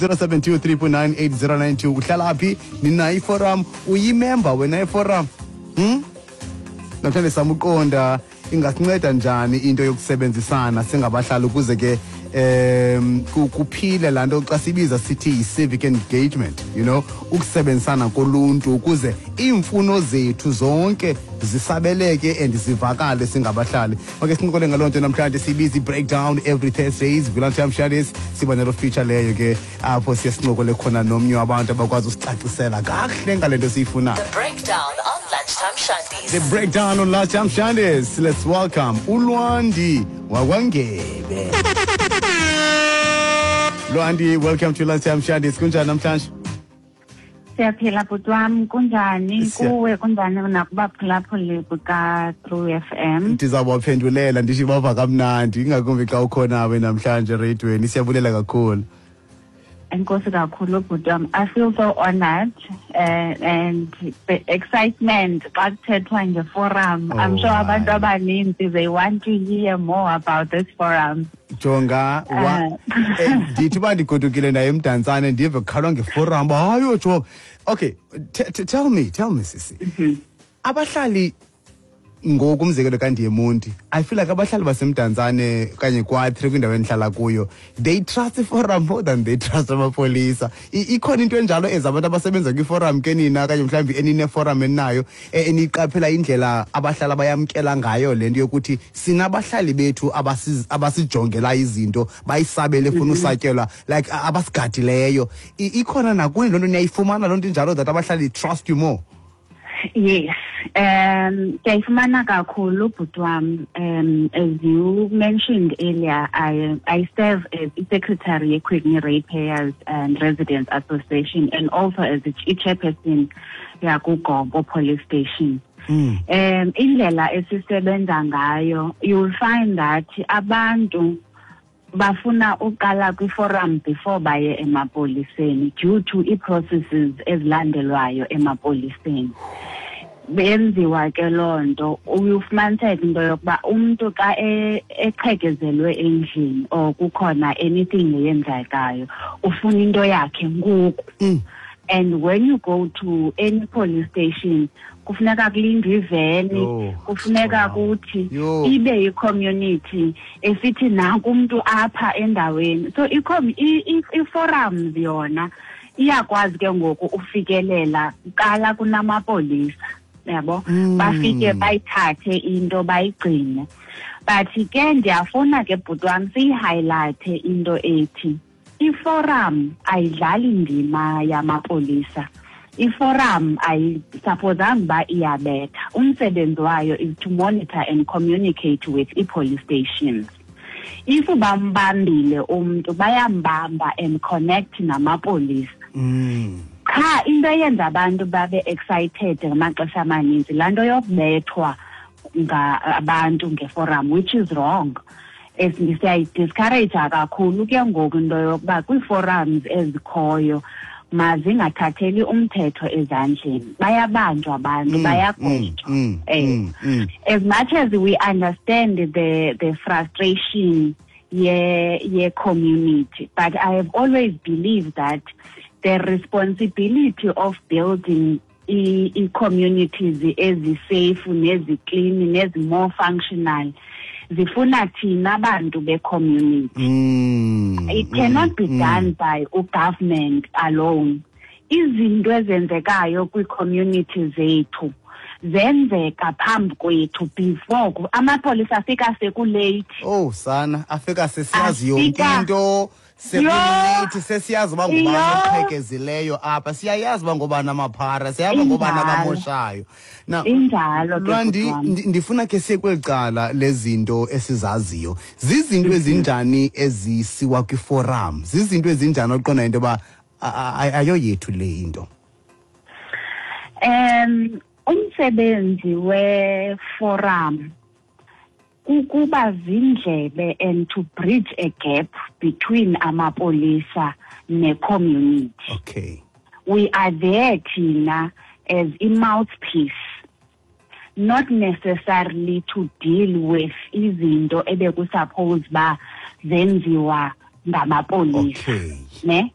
072 399 8092. Uhlala phi? Ninayo iforum? Uyimember wena iforum? Namhlanje samuqonda ingasinceda njani into yokusebenzisana singabahlali ukuze ke kuphile laa nto xa sibiza sithi yi-civic engagement, ukusebenzisana koluntu ukuze iimfuno zethu zonke zisabeleke and zivakale singabahlali. Okay, sincokole ngaloo nto namhlanje. Siyibiza i-breakdown every Thursdays kwi-Lunchtime Shandies. Siba nelo feature leyo ke apho siye sincokole khona nomnye wabantu abakwazi usicacisela kakuhle ngale nto siyifunayo. The Breakdown on Lunchtime Shandies. The Breakdown on Lunchtime Shandies. Let's welcome uLwandi wakwaNgebe. Lwandi, welcome to Lunchtime Shandies. Kunjani namhlanje? Siyaphila, bhuti wam. Kunjani kuwe? Kunjani nakubaphulaphuli buka-True FM? Ndizawubaphendulela ndithi bava kamnandi, ingakumbi xa ukhona we namhlanje ereyidweni. Siyabulela kakhulu. Enkosi kakhulu, bhuti wam. I feel so honored and the excitement xa kuthethwa ngeforum. I'm sure abantu hayi. abaninzi, they want to hear more about this forum. Jonga wa ndithi uba ndigodukile naye eMdantsane, ndive kukhalwa ngeforum. Hayo, jonga. Okay, tell me sisi, abahlali ngoku, umzekelo kandiye eMonti, I feel like abahlali baseMdantsane okanye kwa-3 kwindawo endihlala kuyo, they trust iforum more than they trust amapolisa. Ikhona into enjalo as abantu abasebenza kwiforum ke nina, okanye mhlawumbi enineforum eninayo eniqaphela indlela abahlali abayamkela ngayo le nto yokuthi sinabahlali bethu abasijongela izinto, bayisabele efuna usatyelwa, like abasigadileyo? Ikhona nakuni loo nto? Niyayifumana loo nto injalo, that abahlali trust you more? Yes, ndiyayifumana kakhulu, bhuti wam. As you mentioned earlier, I serve as secretary ye-Quigney Ratepayers and Residents Association and also as the chairperson yakuGompo Police Station. Indlela esisebenza ngayo, you will find that abantu bafuna uqala kwiforum before baye emapoliseni due to ii-processes ezilandelwayo emapoliseni. Benziwa ke loo nto, ufumaniseka into yokuba umntu xa eqhekezelwe endlini or kukhona anything eyenzekayo, ufuna into yakhe ngoku. And when you go to any police station, kufuneka kulindwe iveni, Yho, kufuneka kuthi Yho. ibe yi-community esithi nanku umntu apha endaweni. So i-forums yona iyakwazi ke ngoku ufikelela kuqala kunamapolisa, yabo, bafike bayithathe into bayigcine. But ke ndiyafuna ke, bhuti wam, siyihighlighte into ethi iforum ayidlali ndima yamapolisa. Iforum ayisupposanga uba iyabetha. Umsebenzi wayo is to monitor and communicate with ii-police stations. If bambambile umntu, bayambamba and connect namapolisa. Qha into eyenza abantu babe excited ngamaxesha amaninzi, laa nto yokubethwa abantu ngeforum, which is wrong. Siyayidiscourage kakhulu ke ngoku into yokuba kwii-forums ezikhoyo mazingathatheli umthetho ezandleni. Bayabanjwa abantu, bayagwetywa. As much as we understand the frustration ye community, but I have always believed that the responsibility of building i-communities ezi-safe nezi-clean nezi-more functional zifuna thina bantu be-community. It cannot be done by ugovernment alone. Izinto ezenzekayo kwii-community zethu zenzeka phambi kwethu before amapolisa afika sekulate. Oh sana, afika sesiyazi yonke into, sekulate, sesiyazi uba ngubani oqhekezileyo apha, siyayazi uba ngobani amaphara, siyazi uba ngobani abamoshayo. Now, Injalo ke, Lwandi, bhuti wam. Ndifuna ke siye kweli cala lezinto esizaziyo. Zizinto ezinjani ezisiwa kwiforum? Zizinto ezinjani oqonda into yoba ayoyethu le into? Umsebenzi weforum kukuba zindlebe and to bridge a gap between amapolisa ne-community. We are there thina as a mouthpiece, not necessarily to deal with izinto ebekusuppose ba zenziwa ngamapolisa. Ne?